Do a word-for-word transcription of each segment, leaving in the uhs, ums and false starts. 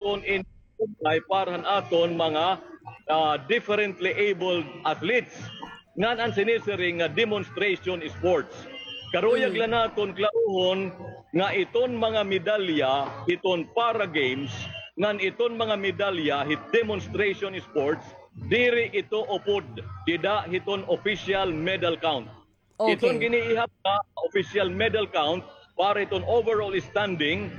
aton in para han aton mga, ah, differently abled athletes. Ngan an sinisiring nga demonstration sports. Karuyag la naton klarohon nga iton mga medalya hiton para games, ngan iton mga medalya hit demonstration sports, diri ito upod dida hiton official medal count. Iton giniihap nga official medal count para iton overall standing,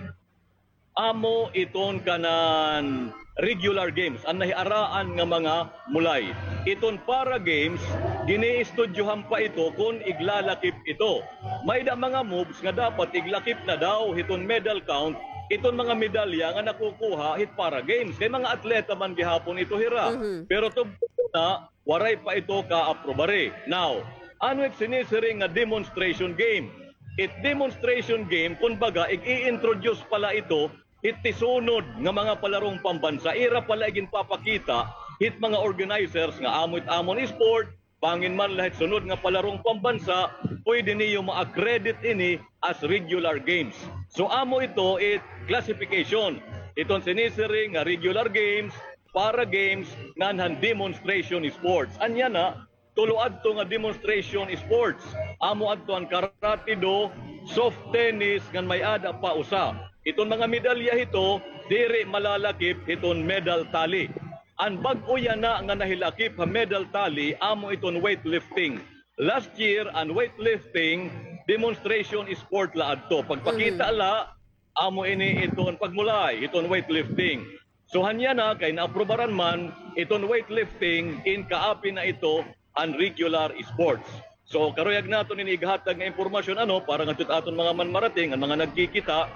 amo iton kanan regular games, an nahiaraan nga mga mulay. Iton para games, giniistudyohan pa ito kon iglalakip ito. May-ada mga moves nga dapat iglakip na daw hiton medal count, iton mga medalya nga nakukuha hit para games. Kay mga atleta man gihapon ito hira. Pero tubtob na, waray pa ito kaaprobare. Now, ano it sinisiring nga demonstration game? It demonstration game, kumbaga, ig-i-introduce pa la ito hit tisunod nga mga palarong pambansa. Ira pa la iginpapakita hit mga organizers nga amo it amon sport, bangin man la hit sunod nga palarong pambansa, pwede niyo ma-accredit ini as regular games. So, amo ito it classification. Iton sinisiring nga regular games, para games, ngan han demonstration sports. Ania na, tulo adto nga demonstration sports. Amo adto an karate do, soft tennis, ngan may-ada pa usa. Iton mga medalya hito, diri malalakip hiton medal tally. An bag-o yana nga nahilakip ha medal tally, amo iton weightlifting. Last year, an weightlifting demonstration sport la adto. Pagpakita la, amo ini iton pagmulay, iton weightlifting. So, hanya na kay naaprobaran man iton weightlifting, in kaapi na ito an regular sports. So, karuyag naton ini ighatag nga impormasyon, ano, para ngadto hit aton mga manmarating, an mga nagkikita,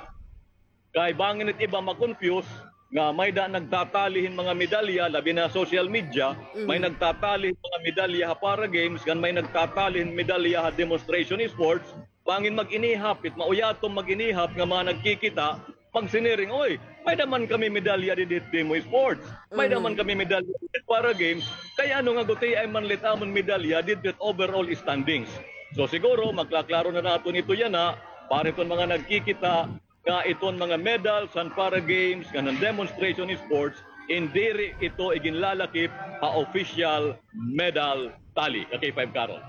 kay bangin it iba ma-confuse nga may-ada nagtatali hin mga medalya, labi na social media, may nagtatali hin mga medalya ha para games, ngan may nagtatali hin medalya ha demonstration sports, bangin mag-inihap, it mauyaton mag-inihap nga mga nagkikita, magsiniring, "Oy, may-ada man kami medalya didi hit demo sports. May-ada man kami medalya didi hit para games. Kay ano nga gutiay man la it amon medalya didi hit overall standings?" So siguro, maklaklaro na naton ito yana, para iton mga nagkikita, nga iton mga medals han para games, ngan han demonstration sports, in diri ito iginlalakip ha official medal tally. Ka K five Carol.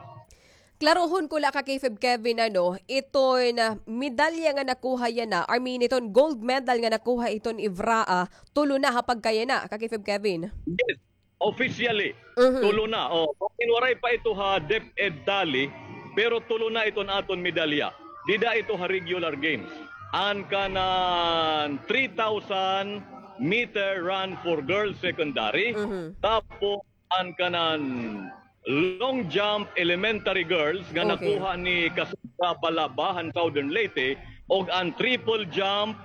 Klarohon ko la, ka K five Kevin, ano, iton, ah, medalya nga nakuha yana, I mean, iton gold medal nga nakuha iton Ivraa, tulo na ha pagkayana, ka K five Kevin? Yes, officially. Tulo na. Oh, waray pa ito ha DepEd tally, pero tulo na iton aton medalya. Dida ito ha regular games. An kanan three thousand meter run for girls secondary, tapos an kanan long jump elementary girls nga nakuha ni Cassandra Balaba han Southern Leyte, ug an triple jump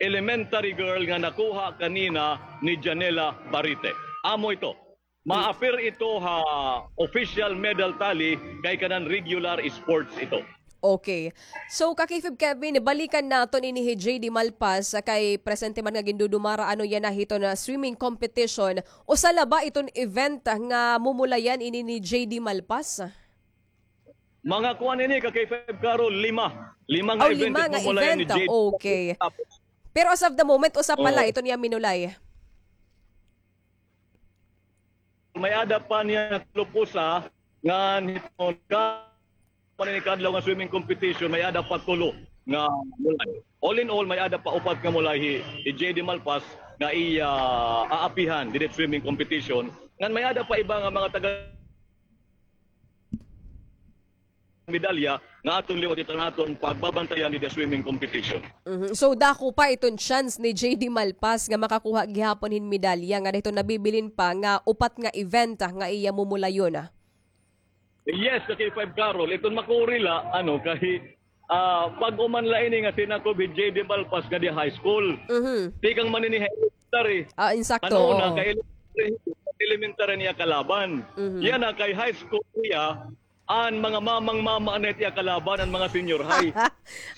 elementary girl nga nakuha kanina ni Janela Barite. Amo ito. Ma-appear ito ha official medal tally kay kanan regular sports ito. Okay. So, ka K five Kevin, balikan naton ini hi J D Malpas, ah, kay presente man nga gindudumara ano yana hiton swimming competition. Usa la ba iton event nga mumulayan ini ni J D Malpas? Mga kuan ini, ka K five Carol, lima. Lima nga event it mumulayan ni J D. Okay. Pero as of the moment, usa pa la iton iya minulay. May-ada pa niya tulo pa usa nga hiton ka man ini kadlaw nga swimming competition, may-ada pa tulo nga mulay. All in all, may-ada pa upat nga mulay hi, hi J D Malpas nga iya aapihan didi hit swimming competition. Ngan may-ada pa iba nga mga taga medalya nga aton liwat iton aton pagbabantayan didi ha swimming competition. So, dako pa iton chance ni J D Malpas nga makakuha gihapon hin medalya nga dida hiton nabibilin pa nga upat nga event, ah, nga iya mumulayon, ah. Yes, ka K five Carol, iton makuri la, ano, kay, ah, bag-o man la ini nga sinakob hi J D Malpas nga dida high school. Tikang man ini ha elementary. Ah, insakto, oo. Ano na, kay elementary, elementary niya kalaban. Yana kay high school niya, an mga mamang-mama na it iya kalaban, an mga senior high.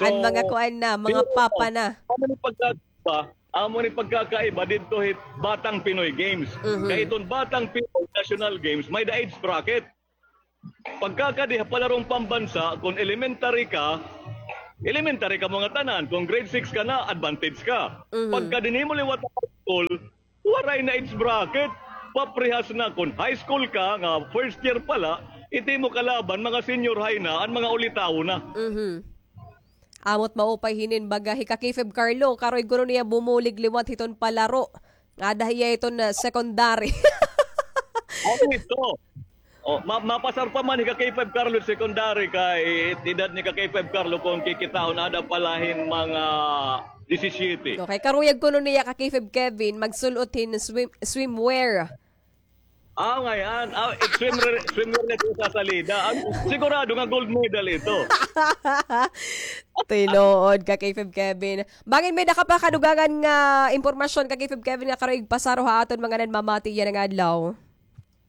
An mga kuan na, mga papa na. Amo ni pagkakaiba, amo ni pagkakaiba didto hit Batang Pinoy Games. Kay iton Batang Pinoy National Games, may-ada age bracket. Pagkakadi ha palarong pambansa, kon elementary ka, Elementary kamo ngatanan, kon grade six ka na, advantage ka. Mhm. Pagka dinhi mo liwat high school, waray na age bracket. Paparehas na kon high school ka, nga first year pa la, it imo kalaban, mga senior high na, an mga ulitawo na. Mhm. Amo it maupay hinin baga hi Ka-K five Carlo, karoy kuno niya bumulig liwat hiton palaro. Ada hiya hiton, ah, secondary. Ano ito? Oh, ma-, mapasar pa man hi Ka-K five Carlo secondary kay edad ni Ka-K five Carlo kon kikitaon ada pa la hin mga disisiete. Okay, karuyag kuno niya Ka-K five Kevin magsul-ot hin swim-, swimwear. Ah, ngay-an. Ah, swimwear, swimwear na ito sa salida. Ah, sigurado nga gold medal ito. Tinuod, Ka-K five Kevin. Bangin may-ada ka pa kadugangan nga impormasyon, Ka-K five Kevin, nga karoy igpasaro ha aton mga nanmamati yana nga adlaw?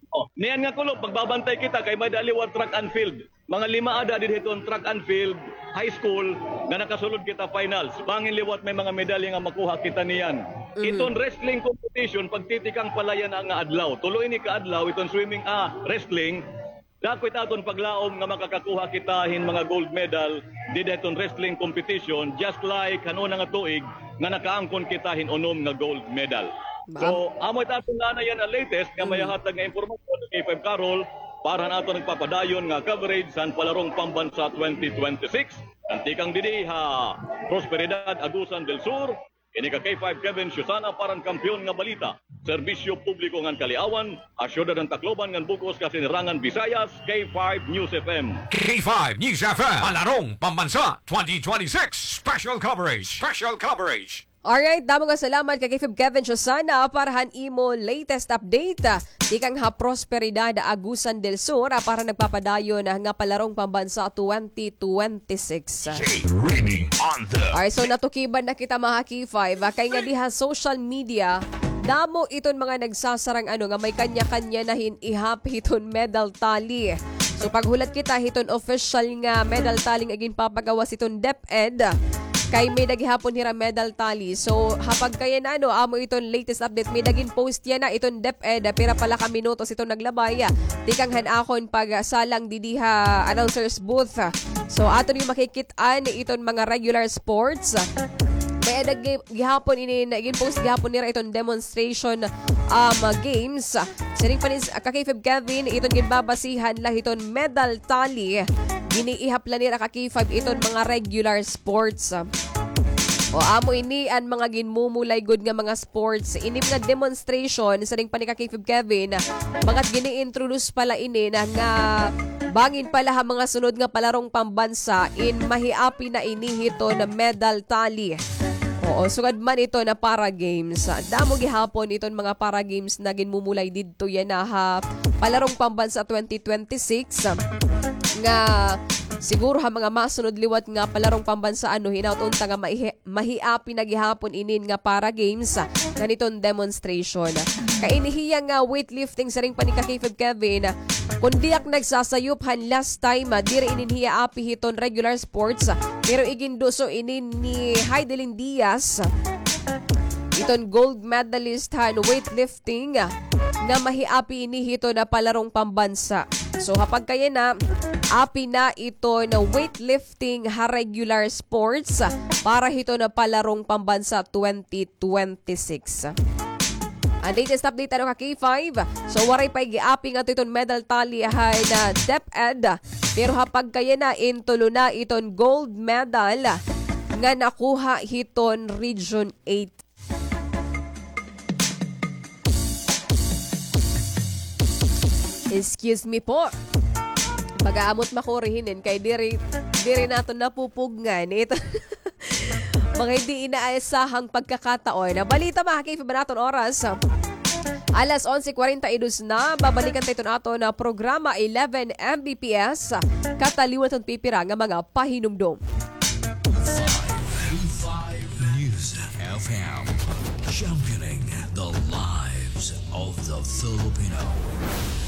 Oh, niyan nga kulop, magbabantay kita kay may-ada liwat track and field. Mga lima ada didto hiton track and field, high school, nga nakasulod kita finals. Bangin liwat may mga medalya nga makuha kita niyan. Mhm. Iton wrestling competition, pagtitikang pa la yana nga adlaw. Tulo ini ka adlaw, iton swimming, ah, wrestling. Dako it aton paglaom nga makakakuha kita hin mga gold medal dida hiton wrestling competition, just like han una nga tuig nga nakaangkon kita hin unom nga gold medal. Ba- So, amo it aton na yana latest nga Mhm. mayahatag nga impormasyon ni K five Carol para han aton nagpapadayon nga coverage han Palarong Pambansa twenty twenty-six. Kantikang didi ha Prosperidad, Agusan del Sur, ini ka K five Kevin Susana para han Kampiyon nga Balita, Serbisyo Publiko ngan Kaliawan, ha Syudad han Tacloban ngan bug-os kasinirangan Visayas, K five News F M. K five News F M, Palarong Pambansa twenty twenty-six, special coverage, special coverage. Alright, damo nga salamat kay K five Kevin Susana para han imo latest update, ah, tikang ha Prosperidad, Agusan del Sur, ah, para nagpapadayon, ah, nga Palarong Pambansa twenty twenty-six. Reading on the Alright, so natukiban na kita, mga K five, ah, kay nga diha social media, damo iton mga nagsasarang ano nga may kanya-kanya na hin ihap hiton medal tally. So paghulat kita hiton official nga medal tally nga ginpapagawas hiton DepEd, kay may-ada gihapon hira medal tally. So ha pagkayana, ano, amo iton latest update. May-ada ginpost yana iton DepEd, pira pa la ka minutos iton naglabay, tikang han akon pagsalang didi ha announcer's booth. So aton nga makikit-an iton mga regular sports. May-ada gi-, gihapon ini, ginpost gihapon nira iton demonstration, um, games. Siring pa ni s-, ka K five Kevin, iton ginbabasihan la hiton medal tally, giniihap la nira ka K five iton mga regular sports. O, amo ini an mga ginmumulay gud nga mga sports. Ini mga demonstration, siring pa ni ka K five Kevin, mga gini-introduce pa la ini na nga bangin pa la ha mga sunod nga palarong pambansa, in mahiapi na ini hiton medal tally. Oo, sugad man iton para games. Damo gihapon iton mga para games na ginmumulay didto yana ha Palarong Pambansa twenty twenty-six, nga siguro ha mga masunod liwat nga Palarong Pambansa, ano, hinaut unta nga maihi-, mahiapi na gihapon inin nga para games, ah, ngan iton demonstration. Kay ini hiya nga weightlifting, siring pa ni ka K five Kevin, ah, kon di ak nagsasayop han last time, ah, diri inin hiya api hiton regular sports, ah, pero iginduso inin ni Heidelin Diaz, iton gold medalist han weightlifting, ah, nga mahiapi ini hiton, ah, Palarong Pambansa. So, ha pagkayana, api na iton weightlifting ha regular sports para hiton Palarong Pambansa twenty twenty-six. An latest update, ano, ka K five. So, waray pa igiapi ngadto iton medal tally han DepEd. Pero ha pagkayana, in tulo na iton gold medal nga nakuha hiton Region eight. Excuse me po. Pag-aamot makuri hinin kay diri, diri naton napupugngan ito. Mga hindi inaasahang pagkakataon. Balita, mga ka-K five, an aton oras. Alas onse cuarenta y dos na, babalikan ta iton aton programa eleven M B P S. Kataliwan iton pipira nga mga pahinumdom. Five News F M, championing the lives of the Filipino.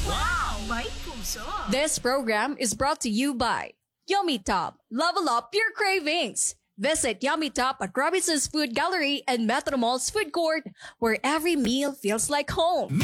Wow! May puso! This program is brought to you by Yummy Top. Level up your cravings. Visit Yummy Top at Robinson's Food Gallery and Metro Mall's Food Court, where every meal feels like home.